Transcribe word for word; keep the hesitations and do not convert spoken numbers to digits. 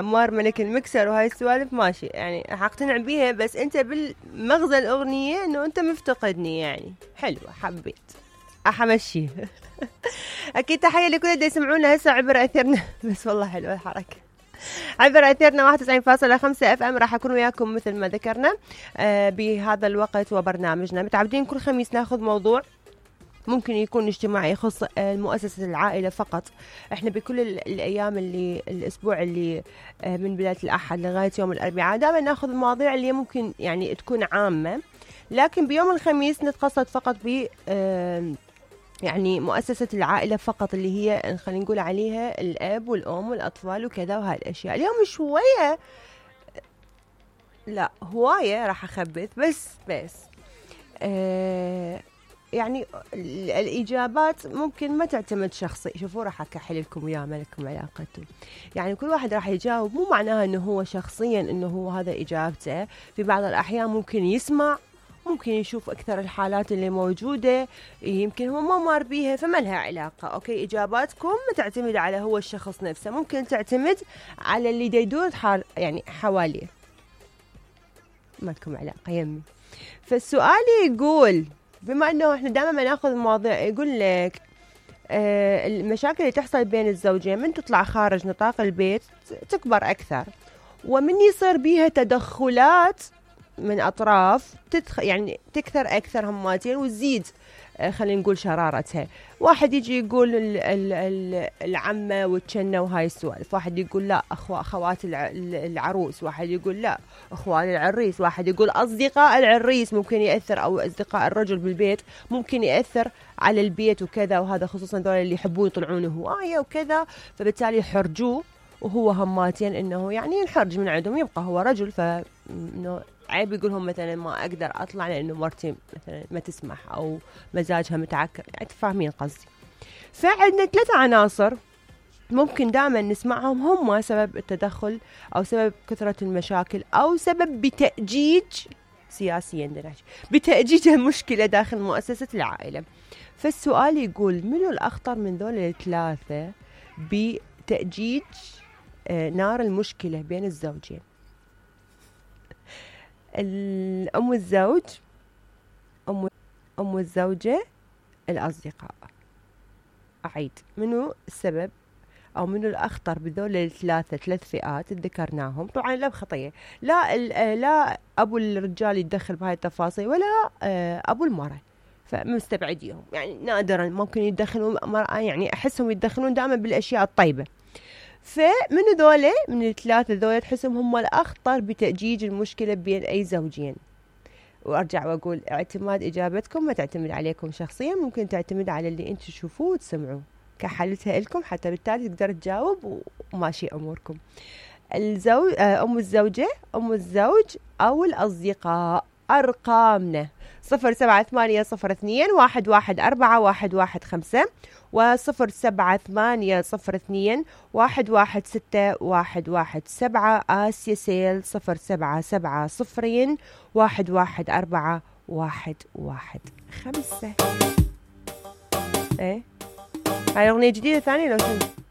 عمار ملك المكسر وهاي السوالف ماشي، يعني راح اقتنع بيها، بس انت بالمغزى الاغنية انه انت مفتقدني، يعني حلوة حبيت احمشي. اكيد تحية لكل اللي يسمعونا هسه عبر اثيرنا. بس والله حلوة الحركة. عبر اثيرنا واحد وتسعين فاصلة خمسة اف ام، راح اكون وياكم مثل ما ذكرنا آه بهذا الوقت وبرنامجنا. متعودين كل خميس ناخذ موضوع ممكن يكون اجتماعي يخص المؤسسة العائلة فقط. احنا بكل الايام اللي الاسبوع اللي من بداية الاحد لغاية يوم الاربعاء دائما ناخذ المواضيع اللي ممكن يعني تكون عامة، لكن بيوم الخميس نتقصد فقط ب يعني مؤسسة العائلة فقط، اللي هي خلينا نقول عليها الاب والام والاطفال وكذا وهاي الاشياء. اليوم شوية لا هواية راح اخبث بس بس اه يعني الإجابات ممكن ما تعتمد شخصي. شوفوا راح أكحل لكم وياه ملكم علاقته، يعني كل واحد راح يجاوب، مو معناها أنه هو شخصيا أنه هو هذا إجابته. في بعض الأحيان ممكن يسمع، ممكن يشوف أكثر الحالات اللي موجودة، يمكن هو ما مار بيها فما لها علاقة. أوكي، إجاباتكم ما تعتمد على هو الشخص نفسه، ممكن تعتمد على اللي يدور حال يعني حواليه، ما لكم علاقة يمي. فالسؤال يقول، بما انه احنا دائما ناخذ مواضيع، يقول لك آه المشاكل اللي تحصل بين الزوجين من تطلع خارج نطاق البيت تكبر اكثر، ومن يصير بيها تدخلات من اطراف تدخ يعني تكثر اكثر هماتين وتزيد آه خلينا نقول شرارتها. واحد يجي يقول ال ال ال العمه والجنه وهاي السوالف، واحد يقول لا اخو اخوات العروس، واحد يقول لا اخوان العريس، واحد يقول اصدقاء العريس ممكن ياثر، او اصدقاء الرجل بالبيت ممكن ياثر على البيت وكذا، وهذا خصوصا دول اللي يحبون يطلعون هوايه وكذا، فبالتالي يحرجوه وهو هماتين انه يعني ينحرج من عندهم، يبقى هو رجل فانه عيب يقولهم مثلا ما اقدر اطلع لانه مرتي مثلا ما تسمح او مزاجها متعكر، يعني تفهمين قصدي. فعندنا ثلاثة عناصر ممكن دائما نسمعهم هم سبب التدخل او سبب كثرة المشاكل او سبب بتأجيج سياسيا دناش بتأجيج المشكلة داخل مؤسسة العائلة. فالسؤال يقول منو الأخطر من ذول الثلاثة بتأجيج نار المشكلة بين الزوجين؟ الأم الزوج، أم أم الزوجة، الأصدقاء. أعيد، منو السبب أو منو الأخطر بذول الثلاثة ثلاث فئات ذكرناهم؟ طبعا لا بخطية، لا لا أبو الرجال يتدخل بهاي التفاصيل ولا أبو المرأة، فمستبعديهم، يعني نادرا ممكن يتدخلون مرأة، يعني أحسهم يتدخلون دائما بالأشياء الطيبة. فمن ذولا من الثلاثة ذولا تحسهم هم الأخطر بتأجيج المشكلة بين أي زوجين؟ وأرجع وأقول اعتماد إجابتكم ما تعتمد عليكم شخصيا، ممكن تعتمد على اللي أنتم تشوفوه وتسمعوه، كحلتها لكم حتى بالتالي تقدر تجاوب وماشي أموركم. الزوج أم الزوجة، أم الزوج، أو الأصدقاء. أرقامنا صفر سبعة ثمانية صفر اثنين واحد واحد أربعة واحد واحد خمسة وصفر سبعة ثمانية صفر اثنين واحد واحد ستة واحد واحد سبعة. آسيا سيل صفر سبعة سبعة صفرين واحد واحد أربعة واحد واحد خمسة. ايه هاي أغنية جديدة ثانية لو شنو؟